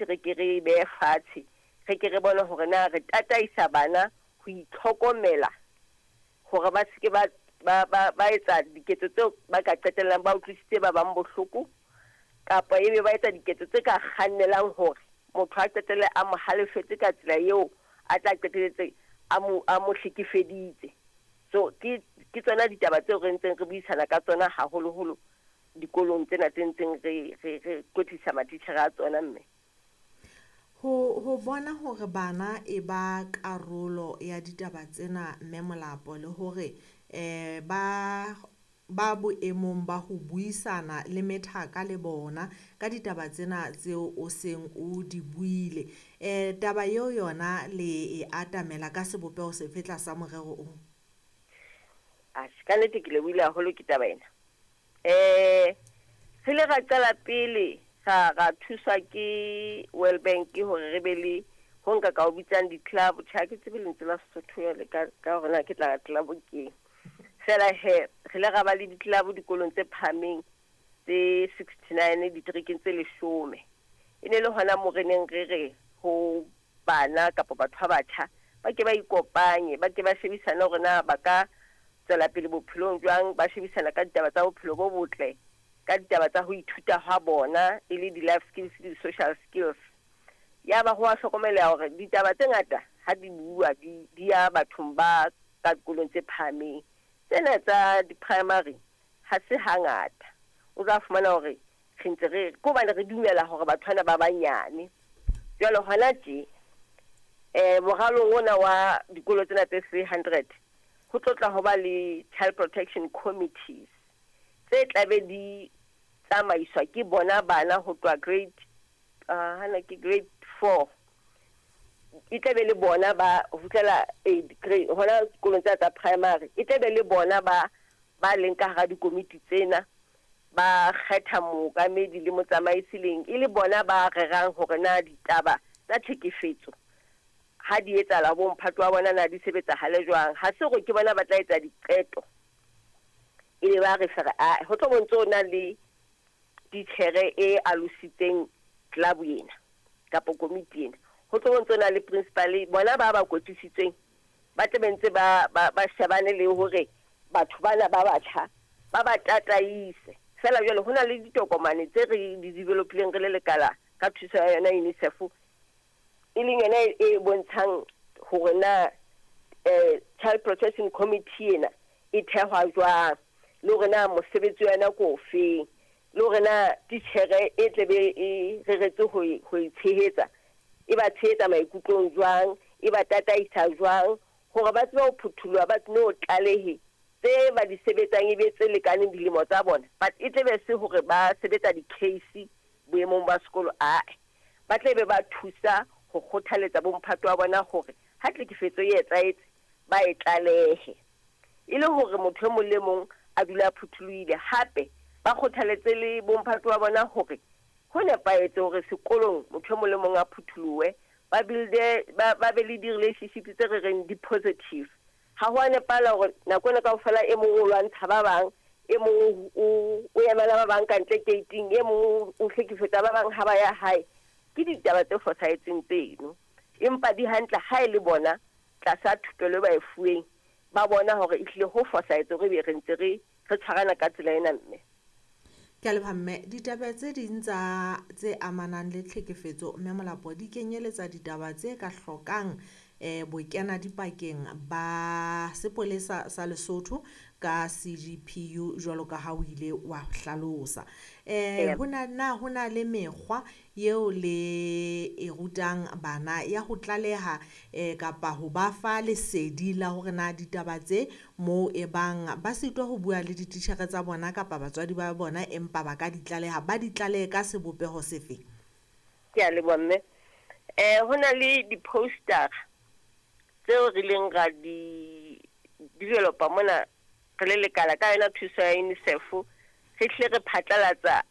re ke re e behe fatshe, re ke re bone hore na re tataisa bana ho itlhokomela hore ba se ke ba ba ba ba etsa diketso tseo ba ka qetellang ba utlwisitse ba bang bohloko, kapa ebe ba etsa diketso tse ka kgannelang hore motho a qetelle a mo halefetse ka tsela eo a tla qetelletse a mo a mo hlekefeditse. So ke ke tsona ditaba tseo re ntseng re buisana ka tsona haholoholo dikolong tsena tse ntseng re re re kwetlisa matitjhere a tsona mme. Ho bona hore bana e ba karolo ya ditaba tsena Mme Molapo le hore ba boemong ba ho buisana le methaka le bona ka ditaba tsena tseo o seng o di buile. Taba eo yona le e atamela ka sebopeho sefe tlasa morero o? Atjhe, ka nnete ke lebohile haholo ke taba ena. Re ile ra qala pele ra ra thuswa ke World Bank hore re be le ho nka ka o bitsang di-club. Tjhe, ha ke tsebe lentswe la Sesotho jwale ka hore na ke tla club keng. Feela he, re ile ra ba le di-club dikolong tse phahameng tse 69 diterekeng tse 10. E ne le hona moo re neng re re ho bana kapa batho ba batjha ba ke ba ikopanye, ba ke ba shebisane hore na ba ka tswela pele bophelong jwang, ba shebisana ka ditaba tsa bophelo bo botle, ka ditaba tsa ho ithuta hwa bona e le di-life skills le di-social skills. Ya ba ho a hlokomeleha hore ditaba tse ngata ha di bua di di ya bathong ba ka dikolong tse phahameng. Tsena tsa di-primary ha se hangata. O tla fumana hore re ntse re ke hobane re dumela hore batho bana ba banyane. Jwale hona tje moralong ona wa dikolo tsena tse 300 ho tlo tla ho ba le child protection committees tse tlabe di tsamaiswa ke bona bana ho tloha grade hana ke grade 4, e tlabe le bona ba ho fihlela grade hona dikolong tsena tsa primary, e tlabe le bona ba ba leng ka hara dikomiti tsena, ba kgetha mookamedi le motsamaisi leng e le bona ba rerang hore na ditaba tsa tlhekefetso ha di etsahala bo mphato wa bona na di sebetsahale jwang. Ha se hore ke bona ba tla etsa diqeto ebe ba re fere a ho tlo bontse o na le titjhere e alositseng club ena kapa komiti ena, ho tlo bontse o na le principal, bona ba ba kwetlisitsweng ba tle be ntse ba ba ba shebane le hore batho bana ba batjha ba ba tataise. Feela jwale ho na le ditokomane tse re di developileng re le lekala ka thuso ya yona UNICEF, e leng yona e bontshang hore na Child Protection Committee ena e thehwa jwang, le hore na mosebetsi wa yona ke ofeng, le hore na titjhere e tlebe e reretse ho e tshehetsa, e ba tshehetsa maikutlong jwang, e ba tataisa jwang hore ba tsebe ho phuthuloha, ba no tlalehe tse ba di sebetsang e be tse lekaneng dilemo tsa bona, but e tlebe se hore ba sebetsa di-case boemong ba sekolo. Ae, ba tle be ba thusa ho kgothaletsa bomphato wa bona hore ha tlhekefetso e etsahetse ba e tlalehe, e le hore motho e mong le mong a dule a phuthulohile. Hape ba kgothaletse le bomphato wa bona hore ho nepahetse hore sekolong motho e mong le mong a phuthulohe, ba build-e ba be le di-relationship tse re reng di positive. Ha ho a nepahala hore nako ena kaofela e mong o lwantsha ba bang, e mong o emela ba bang ka ntle gate-ing, e mong o hlekefetsa ba bang ha ba ya hae. Ke ditaba tse fosahetseng tseno, empa di hantle ha e le bona tlasa thupelo e ba e fuweng ba bona hore ehlile ho fosahetse hore ebe re ntse re re tshwarana ka tsela ena mme. Ke a leboha mme. Ditaba tse ding tsa tse amanang le tlhekefetso Mme Molapo di kenyeletsa ditaba tse ka hlokang bokena dipakeng ba sepolesa sa Lesotho ka CGPU jwalo ka ha o ile wa hlalosa. Ho na le mekgwa eo le e rutang bana ya ho tlaleha kapa ho ba fa lesedi la hore na ditaba tse moo e bang ba sitwa ho bua le dititjhere tsa bona kapa batswadi ba bona, empa ba ka di tlaleha, ba di tlalehe ka sebopeho sefe? Ke a leboha mme. Ho na le di-poster tseo re ileng ra di developa mona re le lekala ka yona thuso ya UNICEF, re hlile re phatlalatsa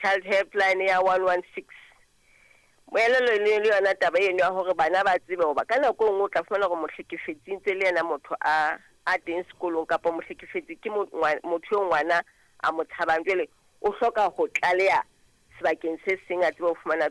child helpline ya 116. Moelelo e le yona taba eno ya hore bana ba tsebe hoba ka nako e nngwe o tla fumana hore mohlekefetsi ntse le yena motho a teng sekolong, kapa mohlekefetsi ke motho eo ngwana a mo tshabang, jwale o hloka ho tlaleha sebakeng se seng a tsebe ho fumana.